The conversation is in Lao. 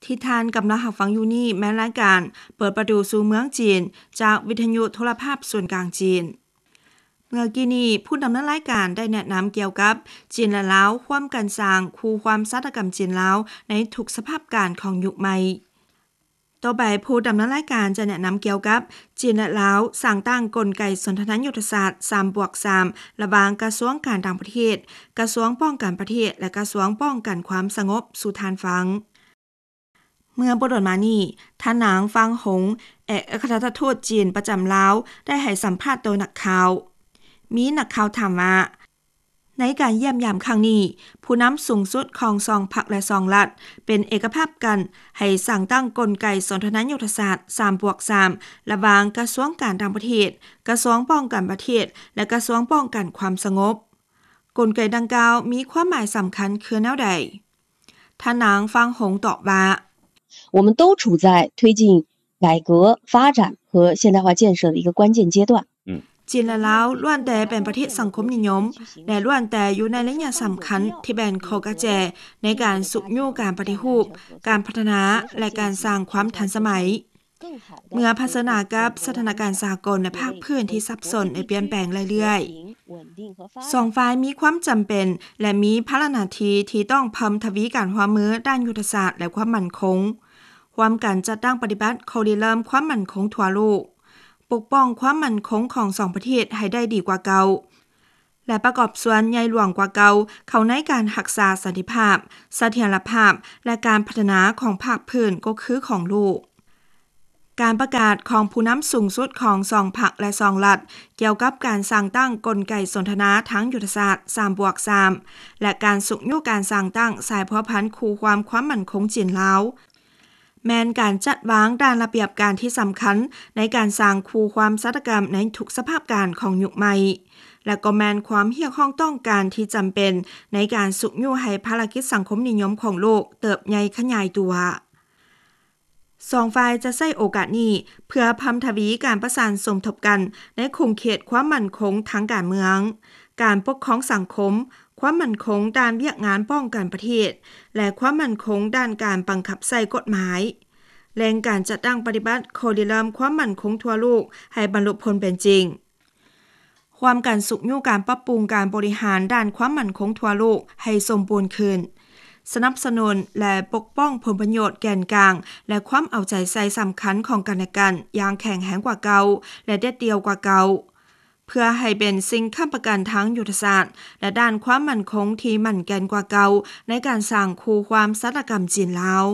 ທີ່ທ່ານກຳລັງຮັບຟັງຢູ່ນີ້ແມ່ນລາຍການເປີດປະຕູສູ່ເມືອງຈີນ ຈາກວິທະຍຸໂທລະພາບສູນກາງຈີນ. ເມື່ອກີ້ນີ້ ຜູ້ດຳເນີນລາຍການໄດ້ແນະນຳກ່ຽວກັບ ຈີນ ແລະ ລາວ ຮ່ວມກັນສ້າງຄູ່ຄວາມຊາຕະກຳຈີນ-ລາວ ໃນທຸກສະພາບການຂອງຍຸກໃໝ່. ຕໍ່ໄປ ຜູ້ດຳເນີນລາຍການຈະແນະນຳກ່ຽວກັບ ຈີນ ແລະ ລາວ ສ້າງຕັ້ງກົນໄກສົນທະນາຍຸດທະສາດ ສາມບວກສາມ ລະຫວ່າງກະຊວງການຕ່າງປະເທດ, ກະຊວງປ້ອງກັນປະເທດ ແລະ ກະຊວງປ້ອງກັນຄວາມສະຫງົບ ສູ່ທ່ານຟັງ. ເມື່ອບໍ່ດົນມານີ້ ທ່ານນາງ ຟາງຫົງ ເອກອັກຄະລັດຖະທູດຈີນປະຈຳລາວ ໄດ້ໃຫ້ສຳພາດຕໍ່ນັກຂ່າວ. ມີນັກຂ່າວຖາມວ່າ ໃນການຢ້ຽມຢາມຄັ້ງນີ້ ຜູ້ນຳສູງສຸດຂອງສອງພັກ ແລະ ສອງລັດ ເປັນເອກະພາບກັນໃຫ້ສ້າງຕັ້ງກົນໄກສົນທະນາຍຸດທະສາດ ສາມບວກສາມ ລະຫວ່າງກະຊວງການຕ່າງປະເທດ, ກະຊວງປ້ອງກັນປະເທດ ແລະ ກະຊວງປ້ອງກັນຄວາມສະຫງົບ. ກົນໄກດັ່ງກ່າວມີຄວາມໝາຍສຳຄັນຄືແນວໃດ? ທ່ານນາງ ຟາງຫົງ ຕອບວ່າ 我们都处在推进改革发展和现代化建设的一个关键阶段。 ຈີນ ແລະ ລາວ ລ້ວນແຕ່ເປັນປະເທດສັງຄົມນິຍົມ ແລະ ລ້ວນແຕ່ຢູ່ໃນໄລຍະສຳຄັນທີ່ແມ່ນຂໍ້ກະແຈໃນການຊຸກຍູ້ການປະຕິຮູບ, ການພັດທະນາ ແລະ ການສ້າງຄວາມທັນສະໄໝ ເມື່ອຜະເຊີນໜ້າກັບສະຖານະການສາກົນ ແລະ ພາກພື້ນທີ່ສັບສົນ ແລະ ປ່ຽນແປງເລື້ອຍໆ. ສອງຝ່າຍມີຄວາມຈຳເປັນ ແລະ ມີພາລະໜ້າທີ່ທີ່ຕ້ອງເພີ່ມທະວີການຮ່ວມມືດ້ານຍຸດທະສາດ ແລະ ຄວາມໝັ້ນຄົງ, ຮ່ວມກັນຈັດຕັ້ງປະຕິບັດຂໍ້ລິເລີ່ມຄວາມໝັ້ນຄົງທົ່ວໂລກ, ປົກປ້ອງຄວາມໝັ້ນຄົງຂອງສອງປະເທດໃຫ້ໄດ້ດີກວ່າເກົ່າ ແລະ ປະກອບສ່ວນໃຫຍ່ຫຼວງກວ່າເກົ່າເຂົ້າໃນການຮັກສາສັນຕິພາບ, ສະຖຽນລະພາບ ແລະ ການພັດທະນາຂອງພາກພື້ນກໍຄືຂອງໂລກ. ການປະກາດຂອງຜູ້ນຳສູງສຸດຂອງສອງພັກ ແລະ ສອງລັດ ກ່ຽວກັບການສ້າງຕັ້ງກົນໄກສົນທະນາທາງຍຸດທະສາດ ສາມບວກສາມ ແລະ ການຊຸກຍູ້ການສ້າງຕັ້ງສາຍພົວພັນຄູ່ຄວາມຄວາມໝັ້ນຄົງຈີນ-ລາວ ແມ່ນການຈັດວາງດ້ານລະບຽບການທີ່ສຳຄັນໃນການສ້າງຄູ່ຄວາມຊາຕະກຳໃນທຸກສະພາບການຂອງຍຸກໃໝ່ ແລະ ກໍແມ່ນຄວາມຮຽກຮ້ອງຕ້ອງການທີ່ຈຳເປັນໃນການຊຸກຍູ້ໃຫ້ພາລະກິດສັງຄົມນິຍົມຂອງໂລກເຕີບໃຫຍ່ຂະຫຍາຍຕົວ. ສອງຝ່າຍຈະໃຊ້ໂອກາດນີ້ເພື່ອເພີ່ມທະວີການປະສານສົມທົບກັນໃນຂົງເຂດຄວາມໝັ້ນຄົງທາງການເມືອງ, ການປົກຄອງສັງຄົມ, ຄວາມໝັ້ນຄົງດ້ານວຽກງານປ້ອງກັນປະເທດ ແລະ ຄວາມໝັ້ນຄົງດ້ານການບັງຄັບໃຊ້ກົດໝາຍ, ເລັ່ງການຈັດຕັ້ງປະຕິບັດຂໍ້ລິເລີ່ມຄວາມໝັ້ນຄົງທົ່ວໂລກໃຫ້ບັນລຸຜົນເປັນຈິງ, ຮ່ວມກັນຊຸກຍູ້ການປັບປຸງການບໍລິຫານດ້ານຄວາມໝັ້ນຄົງທົ່ວໂລກໃຫ້ສົມບູນຂຶ້ນ, ສະໜັບສະໜູນ ແລະ ປົກປ້ອງຜົນປະໂຫຍດແກນກາງ ແລະ ຄວາມເອົາໃຈໃສ່ສຳຄັນຂອງກັນແລະກັນຢ່າງແຂງແຮງກວ່າເກົ່າ ແລະ ເດັດດ່ຽວກວ່າເກົ່າ. ເພື່ອໃຫ້ເປັນສິ່ງຄ້ຳປະກັນທາງຍຸດທະສາດ ແລະ ດ້ານຄວາມໝັ້ນຄົງທີ່ໝັ້ນແກ່ນກວ່າເກົ່າ ໃນການສ້າງຄູ່ຄວາມຊາຕະກຳຈີນ-ລາວ.